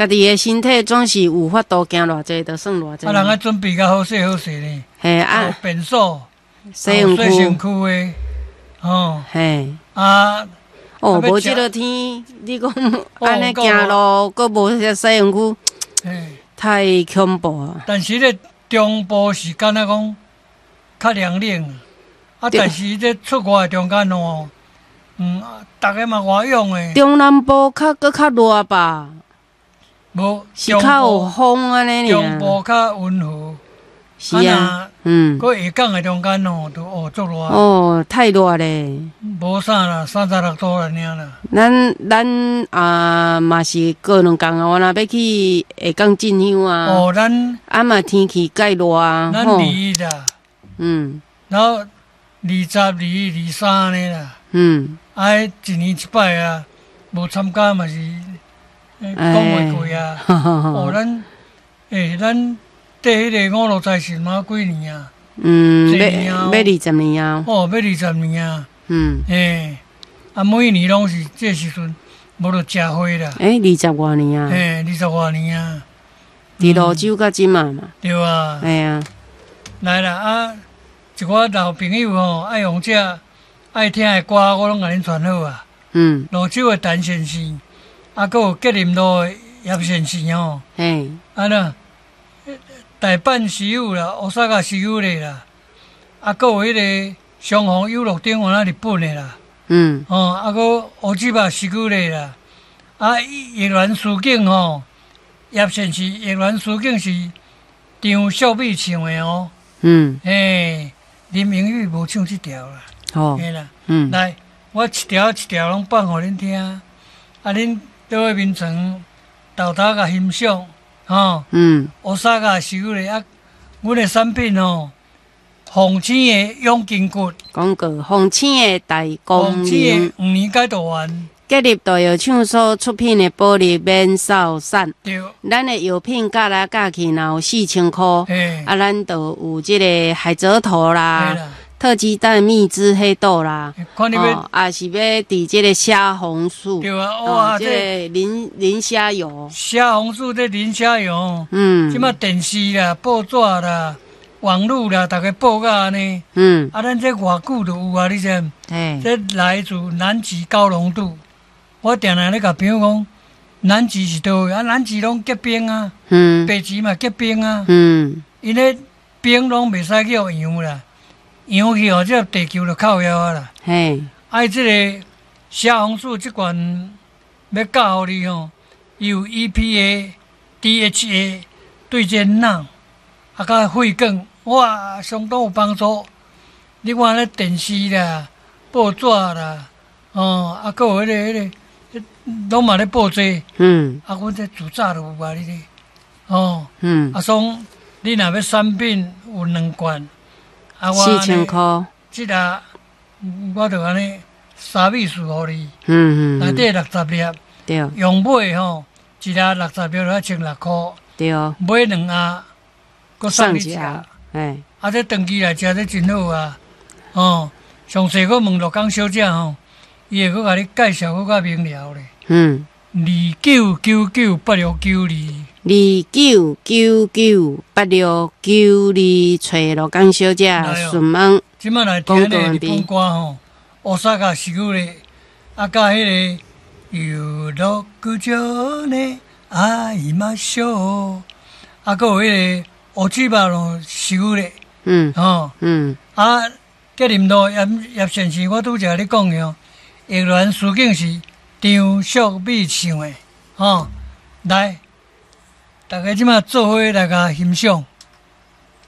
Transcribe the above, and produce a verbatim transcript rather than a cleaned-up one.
家己的身體總是有法度行偌濟，就算偌濟。啊，人愛準備較好勢好勢呢。嘿啊，便所、洗身洗身軀，軀的，吼嘿。啊，哦，啊，無這个天，你講按呢夠行路，閣無洗身軀，嘿。太恐怖啊！但是咧中部是敢若講較涼冷，啊，對但是這出外中間哦，嗯，逐个嘛外勇的，中南部較閣較熱吧？無是較有風按呢中部爾。較溫和，是啊，嗯，閣下港的中間哦，就哦足熱，哦，太熱咧。無啥啦，三十六度爾啦。咱咱啊嘛是過兩工啊，我若欲去下港進香啊，哦，咱啊嘛天氣蓋熱啊，咱吼二一啦，嗯然後二十二、二三按呢啦，嗯，啊，一年一擺啊，無參加嘛是講袂過啊。哦，咱欸，咱綴彼個五路財神嘛幾年啊？嗯，這年啊欲欲二十年啊，哦，欲二十年啊。嗯，欸，啊，每年攏是這時陣，無就食花啦。欸，二十外年啊，欸，二十外年啊。佇蘆洲到這馬嘛，對啊。嘿啊，來啦啊！一寡老朋友吼，愛用這愛聽的歌，我攏共恁傳好啊。嗯，蘆洲的陳先生，啊，閣有吉林路的葉先生吼，嘿，啊那大阪師友啦，大阪師友的啦，啊，閣有彼个雙紅遊樂場原來日本的啦，嗯，吼，啊，閣烏吉巴師友的啦，啊，玉蘭書景吼，葉先生玉蘭書景是張秀美唱的哦，嗯，嘿，林明玉無唱這條啦，好，嘿啦，嗯，來，我一條一條攏放予恁聽，啊，恁倒去眠床沓沓共欣賞，吼，嗯，烏沙甲師友的啊，阮的產品吼，鳳青的養筋骨，廣告，鳳青的大功鳳青能的，黃連解毒丸，吉立大藥廠所出品的保利免瘦散，對，咱的藥品加來加去，若有四千箍，嘿，啊，咱就有這个海蜇頭啦嘿，啦，特雞蛋蜜汁黑豆啦，看你欲，哦，也是欲佇這个蝦紅素，對啊，哇，哦，這這个磷磷蝦油，蝦紅素這磷蝦油，嗯，這馬電視啦、報紙啦、網路啦，逐个報甲按呢，嗯，啊，咱這偌久就有啊，你知？嘿，這來自南極高濃度，我定定咧共朋友講，南極是佗位？啊，南極攏結冰啊，嗯，北極嘛結冰啊，嗯，𪜶咧冰攏袂使去予溶啦，溶去哦，這地球就靠枵啊啦。嘿，啊，這个蝦紅素這罐欲教予你吼，伊有 E P A、D H A 對這腦啊，佮血管，哇，相當有幫助。你看咧電視啦、報紙啦，哦，啊，閣有彼个彼个，攏嘛咧報這個，嗯，啊，阮這自早就有啊，你咧，哦，嗯，啊，所以你若欲產品有兩罐，啊，我四千箍，這個我就按呢三美數予你，嗯嗯，內底六十粒，對用買吼，一粒六十粒就愛千六箍，對，買兩盒，閣送你一盒。哎，啊，這長期來食這真好啊！哦，詳細閣問鹿港小姐吼，伊會閣共你介紹閣較明了咧。嗯，二九九九八六九二，二九九九八六九二，揣鹿港小姐詢問。這馬來聽那個日本歌吼，大阪是久咧，啊，佮彼个遊樂場的愛馬秀，啊，閣有彼个烏雞肉咯，是久咧，嗯，吼，嗯，啊，吉林路葉葉先生，我拄才咧講的哦，玉蘭書景是張淑美唱的，吼，來，大家這馬做伙來共欣賞。